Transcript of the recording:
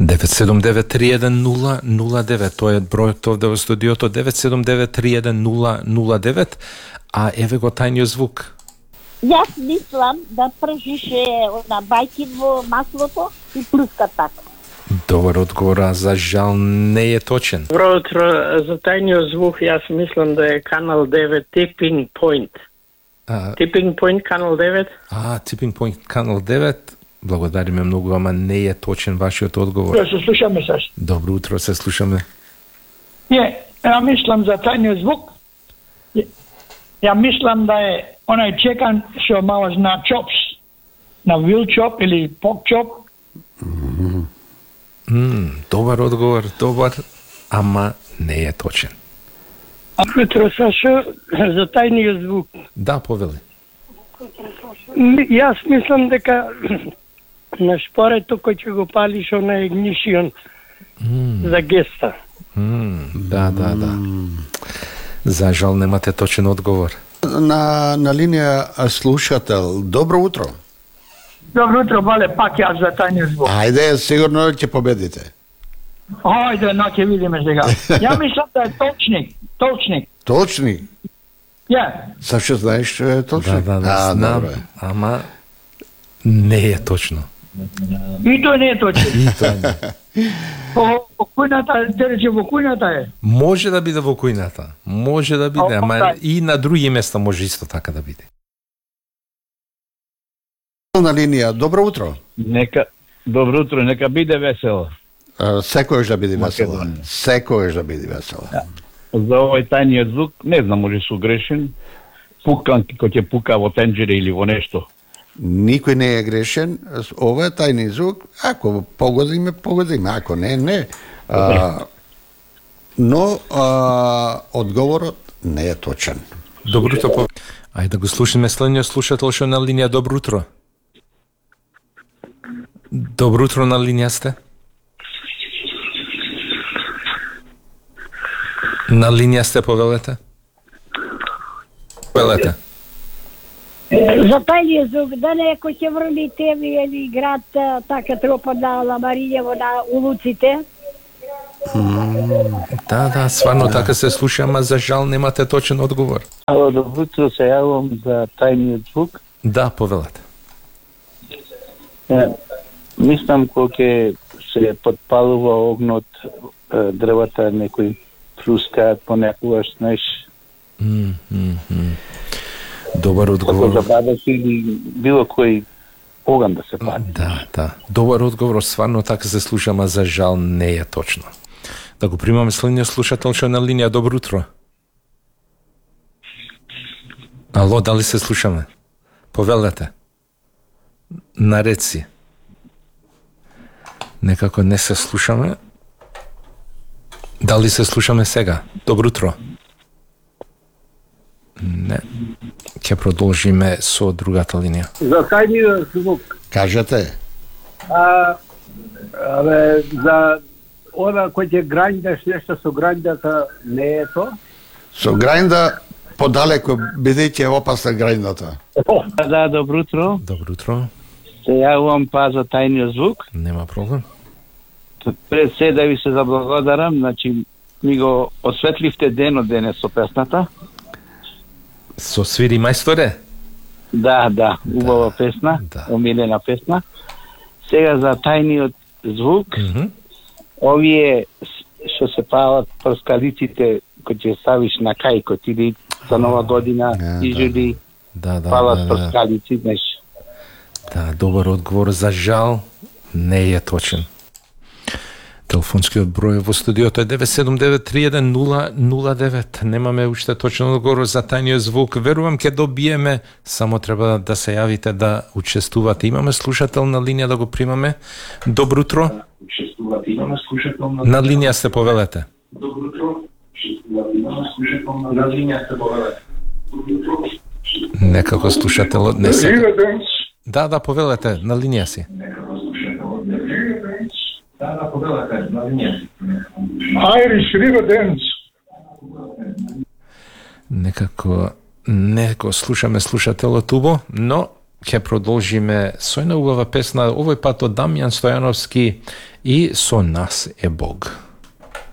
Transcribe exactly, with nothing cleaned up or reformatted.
девет седум девет три еден нула нула девет, тоа е бројот овде во студиото, девет седум девет три еден нула нула девет, а еве го тајниот звук. Јас мислам да пржише на бајки во маслото и плюска така. Добар одговор, а за жал не е точен. Добро утро, за тајниот звук јас мислам да е Канал девет Tipping Point. А, Tipping Point Канал девет. а Tipping Point Канал девет, благодариме многу, ама не е точен вашиот одговор. Да се слушаме саш. Добро утро, се слушаме. Ја, ја мислам за тајниот звук. Ја, ја мислам да е онај чекан што мало на чопс, на wheel chop или pork chop. М, добар одговор, добар, ама не е точен. Утро, Сашо, за тајниот звук. Да, повели. М, Јас мислам дека на шпорето кој ќе го палиш на игнишион за геста. М, да, да, да. За жал немате точен одговор. На, на линија слушател, добро утро. Добро утро, бале, пак јас за тајниот звук. Ајде, сигурно ќе победите. Ајде, на ќе видиме сега. Ја мислам да е точник, точник. Точни? Ја, Сашо, знаеш што е точник? Да, да, да, А, знам, добро е. ама не е точно. и тој не е точник. И тоа не. По по кујната, те рече во кујната е. Може да биде во кујната, може да биде, А, ама да. и на други места може исто така да биде. На линија, добро утро. Нека добро утро, нека биде весело. А, Секојаш да биде весело. Македонија. Секојаш да биде весело. За овој тајниот звук, не знам, може су грешен. Пукан кој ќе пука во тенџере или во нешто. Никој не е грешен. Ова е тајни звук. Ако погодиме, погодиме. Ако не, не. А, но а, одговорот не е точен. Добро утро. по- Ајде да го слушаме следниот слушател што е на линија. Добро утро. Добро утро, на линија сте. На линија сте, повелете. Повелете. За тајниот звук, да не кој ќе врли теви или град а, така тропа на Ламарињево на улуците. Да, да, сварно така се слуша, ама за жал немате точен одговор. Ало, добро утро, се јавам за тајниот звук. Да, повелете. Е, мислам кога ќе се подпалува огнот, е, дрвата некои плускаат понекогаш, знаеш, М, м, м. Добар како одговор. за бабак или било кој оган да се пали. Да, да. Добар одговор, сварно така се слуша, ама за жал не е точно. Да го примаме следниот слушател што е на линија. Добро утро. Ало, дали се слушаме? Повелете. Наред си. Некако не се слушаме. Дали се слушаме сега? Добро утро. Не. Ќе продолжиме со другата линија. За тајниот звук, Кажете. а, абе, за она кој ќе грањдаш нешто со грањдата, не е то? Со грајнда подалеку, бидејќи е опасна грајндата. Да, добро утро. Добро утро. Се јавам па за тајниот звук. Нема проблем. Пред се да ви се заблагодарам, значи ми го осветливте денот денес со песната. Со свири мајсторе? Да, да, убава песна, да. омилена песна. Сега за тајниот звук, Мгм. овие с- што се палат прскалиците кои ќе ставиш на кајкот или за нова година, Да, изуди Да, да, палат да, да. прскалици, знаеш. Да, добар одговор, за жал не е точен. Телефонскиот број во студиото е девет седум девет три еден нула нула девет. Немаме уште точен одговор за тајниот звук. Верувам ќе добиеме, само треба да се јавите да учествувате. Имаме слушател на линија, да го примаме. Добро утро. Учествувате. Имаме слушател на На линија сте, повелете. Добро утро. Имаме слушател на линија сте, повелете. Некако слушателот не се. Да, да, повелете, на линија си. Да, да, повелете, на линија си. Irish River Dance. Некако не го слушаме слушателот убо, но ќе продолжиме со една убава песна, овој пат од Дамјан Стојановски и Со нас е Бог.